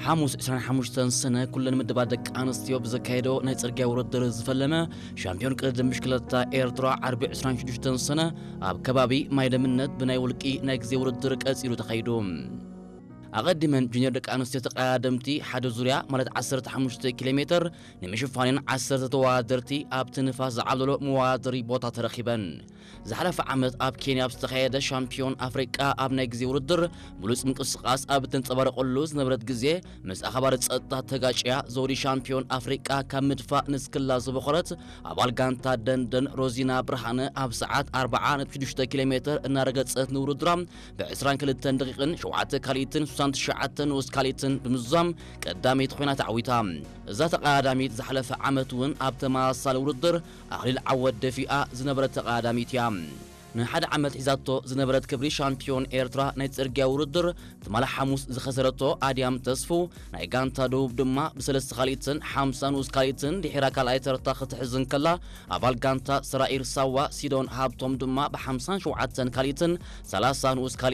ሓሙስ ዕስራን ሓሙሽተን ሰነ ኩለን ምድባት ደቂ ኣንስትዮ ብዘካየዶ ናይ ጽርግያ ውድድር ዝፈለመ ሻምፒዮን ቅድድም ብሽክለታ ኤርትራ ዓርቢ ዕስራን ሽዱሽተን ሰነ ኣብ ከባቢ ማይደምነት ብናይ ውልቂ ናይ ግዜ ውድድር ቀጺሉ ተኻይዱ። ኣቐዲመን ጁኒየር ደቂ ኣንስትዮ ተቐዳደምቲ ሓደ ዙርያ ማለት ዓሰርተ ሓሙሽተ ኪሎ ሜትር ንምሽፋንን ዓሰርተ ተወዳደርቲ ኣብቲ ንፋስ ዝዓብለሎ መወዳደሪ ቦታ ተረኺበን። ዝሓለፈ ዓመት ኣብ ኬንያ ኣብ ዝተኻየደ ሻምፒዮን ኣፍሪቃ ኣብ ናይ ግዜ ውድድር ብሉጽ ምንቅስቓስ ኣብ እተንጸባረቐሉ ዝነበረት ግዜ ምስ ኣኽባሪ ጸጥታ ተጋጭያ ዘውዲ ሻምፒዮን ኣፍሪቃ ካብ ምድፋእ ንስክላ ዝበኾረት ኣባል ጋንታ ደንደን ሮዚና ብርሃነ ኣብ ሰዓት ኣርብዓ ነጥቢ ሽዱሽተ ኪሎ ሜትር እናረገጸት ንውድድራ ብ ዕስራን ክልተን ደቂቕን ሸውዓተ ካልኢትን ስሳን ትሽዓተ ንኡስ ካልኢትን ብምዝዛም ቀዳመይቲ ኮይና ተዓዊታ። እዛ ተቐዳዳሚት ዝሓለፈ ዓመት እውን ኣብ ተመሳሳሊ ውድድር ኣኽሊል ዓወት ደፊኣ ዝነበረት ተቐዳዳሚት እያ። ንሓደ ዓመት ሒዛቶ ዝነበረት ክብሪ ሻምፒዮን ኤርትራ ናይ ጽርግያ ውድድር ትማሊ ሓሙስ ዝኸሰረቶ ኣድያም ተስፉ ናይ ጋንታ ደቡብ ድማ ብሰለስተ ካልኢትን ሓምሳ ንኡስ ካልኢትን ድሒራ ካልኣይ ተርታ ክትሕዝ እንከላ፣ ኣባል ጋንታ ሰራኢር ሳዋ ሲዶን ሃብቶም ድማ ብሓምሳን ሸውዓተን ካልኢትን ሰላሳ ንኡስ